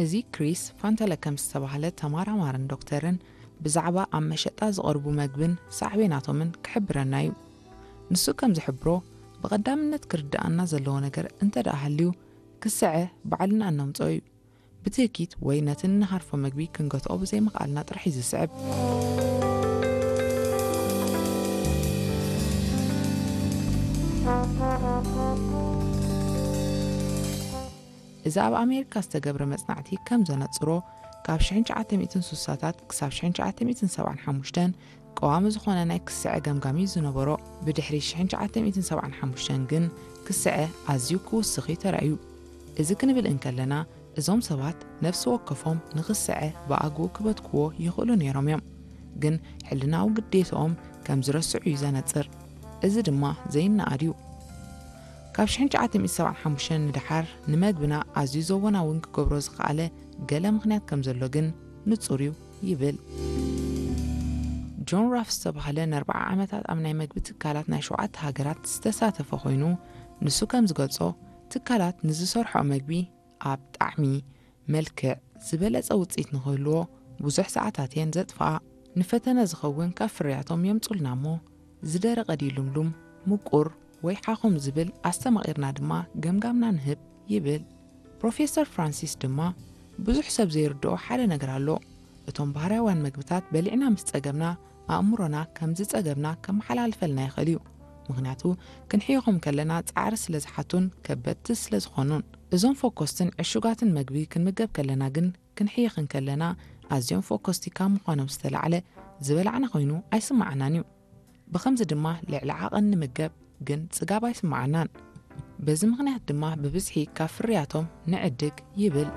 እዚ ክሪስ ፋንተለ ከም ዝተባህለ ተመራማርን ዶክተርን ብዛዕባ ኣብ መሸጣ ዝቐርቡ መግብን ሳዕቤናቶምን ክሕብረና እዩ። ንሱ ከም ዝሕብሮ፣ ብቐዳምነት ክርድኣና ዘለዎ ነገር እንተ ደኣ ሃልዩ፣ ክስዐ ባዕልና እነምጽኦ እዩ። ብትህኪት ወይ ነቲ እንሃርፎ መግቢ ክንገትኦ ብዘይምኽኣልና ጥራሕ እዩ ዝስዕብ። እዚ ኣብ ኣሜሪካ ዝተገብረ መጽናዕቲ ከም ዘነጽሮ፣ ካብ ሽሕን ትሽዓተ ሚእትን ስሳታት ክሳብ ሽሕን ትሽዓተ ሚእትን ሰብዓን ሓሙሽተን ቀዋሚ ዝኾነ ናይ ክስዐ ገምጋም እዩ ዝነበሮ። ብድሕሪ ሽሕን ትሽዓተ ሚእትን ሰብዓን ሓሙሽተን ግን ክስዐ ኣዝዩ ክውስኽ እዩ ተራእዩ። እዚ ክንብል እንከለና፣ እዞም ሰባት ነፍሲ ወከፎም ንኽስዐ ብኣግኡ ክበትክዎ ይኽእሉ ነይሮም እዮም። ግን ሕልናዊ ግዴትኦም ከም ዝረስዑ እዩ ዘነጽር። እዚ ድማ ዘይነኣድ እዩ። ካብ ሽሕን ትሽዓተ ሚእትን ሰብዓን ሓሙሽተን ንደሓር ንመግብና ኣዝዩ ዘወናውን ክገብሮ ዝኸኣለ ገለ ምኽንያት ከም ዘሎ ግን ንጹር እዩ ይብል። ጆን ራፍ ዝተባህለ ንኣርብዓ ዓመታት ኣብ ናይ መግቢ ትካላት ናይ ሸውዓተ ሃገራት ዝተሳተፈ ኮይኑ፣ ንሱ ከም ዝገልጾ፣ ትካላት ንዝሰርሖ መግቢ ኣብ ጣዕሚ፣ መልክዕ ዝበለጸ ውጽኢት ንኽህልዎ ብዙሕ ሰዓታት እየን ዘጥፍኣ። ንፈተነ ዝኸውን ካብ ፍርያቶም የምጹልና እሞ፣ ዝደረቐ ድዩ ልምሉም፣ ምቁር ወይ ሓኹም ዝብል ኣስተማቒርና ድማ ገምጋምና ንህብ ይብል። ፕሮፌሰር ፍራንሲስ ድማ፣ ብዙሕ ሰብ ዘይርድኦ ሓደ ነገር ኣሎ። እቶም ባህርያውያን መግብታት በሊዕና ምስ ጸገብና፣ ኣእምሮና ከም ዝጸገብና ከመሓላልፈልና ይኽእል እዩ። ምኽንያቱ፣ ክንሕየኾም ከለና ጻዕሪ ስለ ዝሓቱን ከበድቲ ስለ ዝኾኑን። እዞም ፈኮስትን ዕሹጋትን መግቢ ክንምገብ ከለና ግን፣ ክንሕየኽ እንከለና ኣዝዮም ፈኮስቲ ካብ ምዃኖም ዝተላዕለ ዝበላዕና ኮይኑ ኣይስምዓናን እዩ። ብኸምዚ ድማ ልዕሊ ዓቐን ንምገብ ግን ጽጋብ ኣይስምዓናን። በዚ ምኽንያት ድማ ብብዝሒ ካብ ፍርያቶም ንዕድግ ይብል።